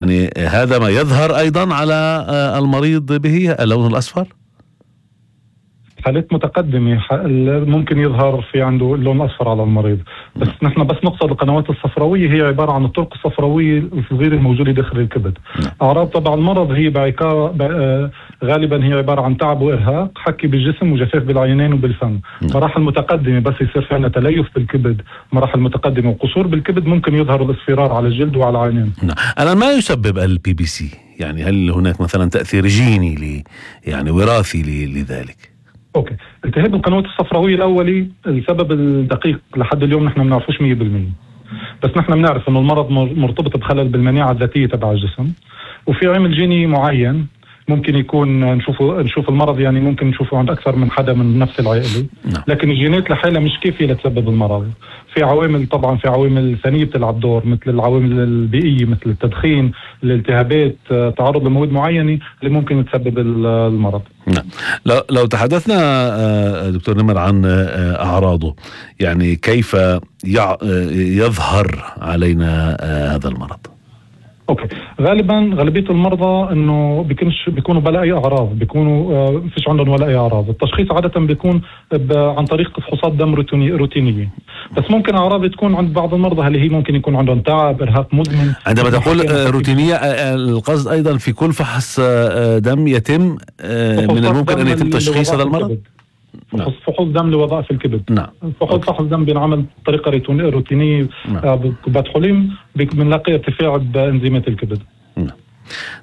يعني هذا ما يظهر أيضا على المريض به اللون الأصفر؟ حالات متقدمة ممكن يظهر في عنده اللون الأصفر على المريض، بس نحن بس نقصد القنوات الصفراوية هي عبارة عن الطرق الصفراوية الصغيرة الموجودة داخل الكبد. أعراض طبعا المرض هي غالبا هي عبارة عن تعب وإرهاق، حكي بالجسم وجفاف بالعينين وبالفم. مراحل متقدمة بس يصير في عندنا تليف بالكبد، مراحل متقدمة وقصور بالكبد ممكن يظهر الاصفرار على الجلد وعلى العينين. الآن ما يسبب البي بي سي؟ يعني هل هناك مثلا تأثير جيني يعني وراثي لذلك؟ اوكي، التهاب القنوات الصفراويه الاولي السبب الدقيق لحد اليوم نحن ما بنعرفوش 100%، بس نحن بنعرف انه المرض مرتبط بخلل بالمناعه الذاتيه تبع الجسم، وفي عامل جيني معين ممكن يكون نشوف المرض، يعني ممكن نشوفه عند اكثر من حدا من نفس العائله، لكن الجينات لحالها مش كافيه لتسبب المرض. في عوامل طبعا، في عوامل ثانيه بتلعب دور مثل العوامل البيئيه مثل التدخين، الالتهابات، تعرض لمواد معينه اللي ممكن تسبب المرض. نعم. لو تحدثنا دكتور نمر عن أعراضه، يعني كيف يظهر علينا هذا المرض؟ اوكي، غالبية المرضى انه بيكونوا بلا اي اعراض، بيكونوا فيش عندهم ولا اي اعراض. التشخيص عادة بيكون عن طريق فحوصات دم روتينية، بس ممكن اعراض تكون عند بعض المرضى اللي هي ممكن يكون عندهم تعب، ارهاق مزمن. عندما تقول روتينية القصد ايضا في كل فحص دم يتم من الممكن ان يتم تشخيص هذا المرض؟ فحوص دم لوظائف الكبد. نعم. فحص دم بينعمل بطريقه روتينيه. بكبات حليم بنلاقي ارتفاع بانزيمات الكبد. نعم.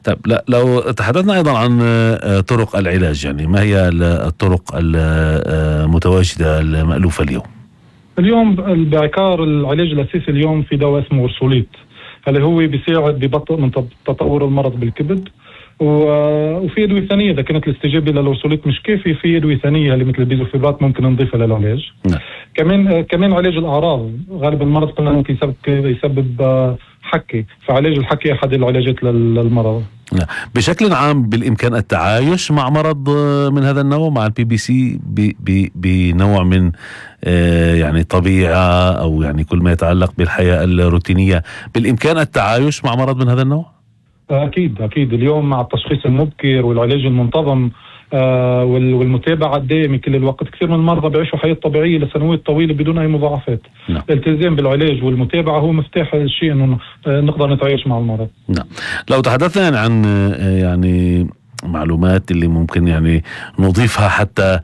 طيب، لو تحدثنا ايضا عن طرق العلاج، يعني ما هي الطرق المتواجده المألوفه اليوم بعكار العلاج الاساسي اليوم في دواء اسمه أورسوليت، اللي هو بيساعد ببطء من تطور المرض بالكبد، وفي ادويه ثانيه اذا كانت الاستجابه للأورسوليت مش كافي، في ادويه ثانيه اللي مثل البيزوفيبرات ممكن نضيفها للعلاج. كمان علاج الاعراض، غالبا المرض قلنا ممكن يسبب حكي، فعلاج الحكي احد العلاجات للمرض. بشكل عام بالامكان التعايش مع مرض من هذا النوع، مع البي بي سي بنوع من يعني طبيعه او يعني كل ما يتعلق بالحياه الروتينيه، بالامكان التعايش مع مرض من هذا النوع؟ أكيد اليوم مع التشخيص المبكر والعلاج المنتظم والمتابعة الدائمة كل الوقت، كثير من المرضى بيعيشوا حياة طبيعية لسنوات طويلة بدون أي مضاعفات. الالتزام بالعلاج والمتابعة هو مفتاح الشيء إنه نقدر نتعايش مع المرض. نعم. لو تحدثنا عن يعني معلومات اللي ممكن يعني نضيفها حتى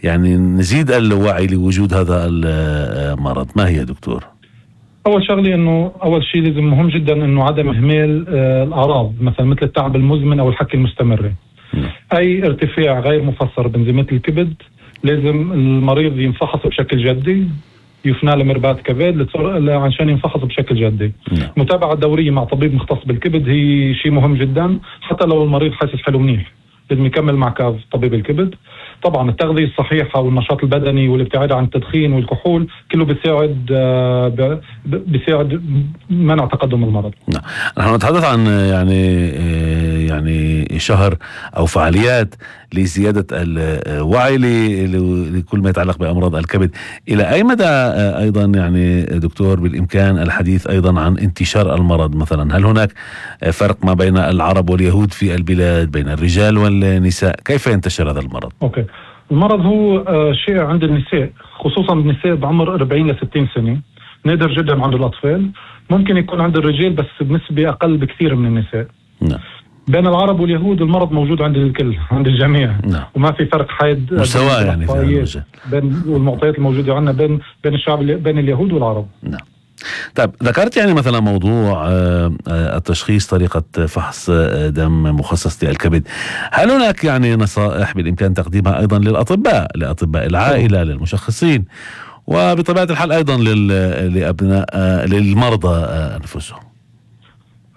يعني نزيد الوعي لوجود هذا المرض، ما هي دكتور؟ أول شغلة إنه أول شيء لازم مهم جدا إنه عدم إهمال الأعراض، مثل التعب المزمن أو الحكي المستمر. أي ارتفاع غير مفسر بانزيمات الكبد لازم المريض ينفحص بشكل جدي، يفنى لمرباط كبد عشان ينفحص بشكل جدي. متابعة دورية مع طبيب مختص بالكبد هي شيء مهم جدا، حتى لو المريض حاسس حلو منيح لازم يكمل مع طبيب الكبد. طبعا التغذية الصحيحة والنشاط البدني والابتعاد عن التدخين والكحول كله بيساعد منع تقدم المرض. نحن نتحدث عن يعني شهر أو فعاليات لزيادة الوعي لكل ما يتعلق بأمراض الكبد. إلى أي مدى أيضا يعني دكتور بالإمكان الحديث أيضا عن انتشار المرض؟ مثلا هل هناك فرق ما بين العرب واليهود في البلاد، بين الرجال والنساء؟ كيف ينتشر هذا المرض؟ أوكي. المرض هو شائع عند النساء، خصوصا النساء بعمر 40 ل 60 سنة، نادر جدا عند الأطفال، ممكن يكون عند الرجال بس بنسبة أقل بكثير من النساء. بين العرب واليهود المرض موجود عند الكل، عند الجميع. وما في فرق حاد مساواة يعني بين والمعطيات الموجودة عندنا بين الشعب، بين اليهود والعرب. طيب، ذكرت يعني مثلا موضوع التشخيص، طريقة فحص دم مخصص للكبد. هل هناك يعني نصائح بالإمكان تقديمها أيضا لأطباء العائلة، للمشخصين، وبطبيعة الحال أيضا للمرضى أنفسهم؟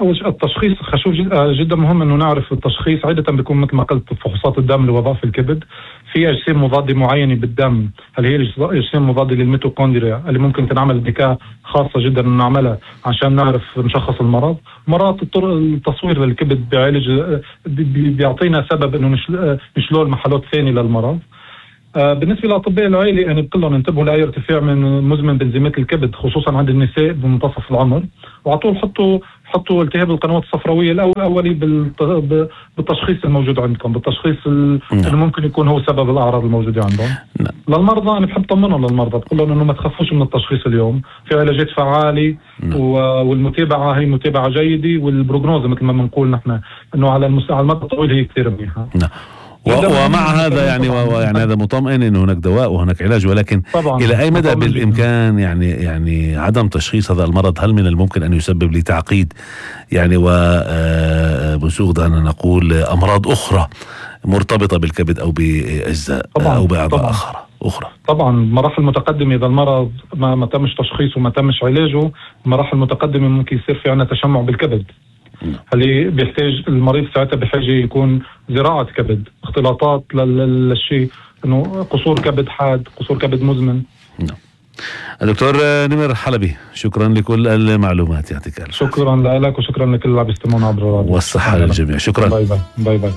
أول التشخيص خشوف جدا مهم إنه نعرف التشخيص. عادة بيكون مثل ما قلت فحوصات الدم لوظائف الكبد، في أجسام مضادة معينة بالدم، هل هي أجسام مضادة للميتوكوندريا اللي ممكن تنعمل بكاء خاصة جدا نعملها عشان نعرف نشخص المرض. مرات التصوير للكبد بيعطينا سبب إنه نشلول محلات ثانية للمرض. بالنسبة لأطباء العائلة يعني بقول لهم انتبهوا لأي ارتفاع من مزمن بانزيمات الكبد خصوصا عند النساء بمنتصف العمر، وعلى طول حطوا التهاب القنوات الصفراوية الأولي بالتشخيص الموجود عندكم، بالتشخيص اللي ممكن يكون هو سبب الأعراض الموجودة عندهم. للمرضى أنا بحب طمنهم للمرضى، بقول لهم إنه ما تخافوش من التشخيص اليوم، في علاجات فعالة والمتابعة هي متابعة جيدة، والبروجنوز مثل ما بنقول نحن إنه على المدى الطويل هي كثير منيحة. ومع هذا يعني هذا مطمئن انه هناك دواء وهناك علاج، ولكن الى اي مدى بالامكان يعني عدم تشخيص هذا المرض؟ هل من الممكن ان يسبب لي تعقيد يعني وبسوغ دعنا نقول امراض اخرى مرتبطة بالكبد او باجزاء او باعضاء اخرى؟ طبعا مراحل متقدمة اذا المرض ما تمش تشخيصه وما تمش علاجه، مراحل متقدمة ممكن يصير في عنا تشمع بالكبد. هل بيحتاج المريض ساعتها بحاجة يكون زراعة كبد، اختلاطات للشيء، انه قصور كبد حاد، قصور كبد مزمن. الدكتور نمر حلبي، شكرا لكل المعلومات، يعطيك الف عافية. شكرا لك وشكرا لكل اللي عم يستمعونا عبر الراديو، والصحة للجميع. شكرا. باي باي.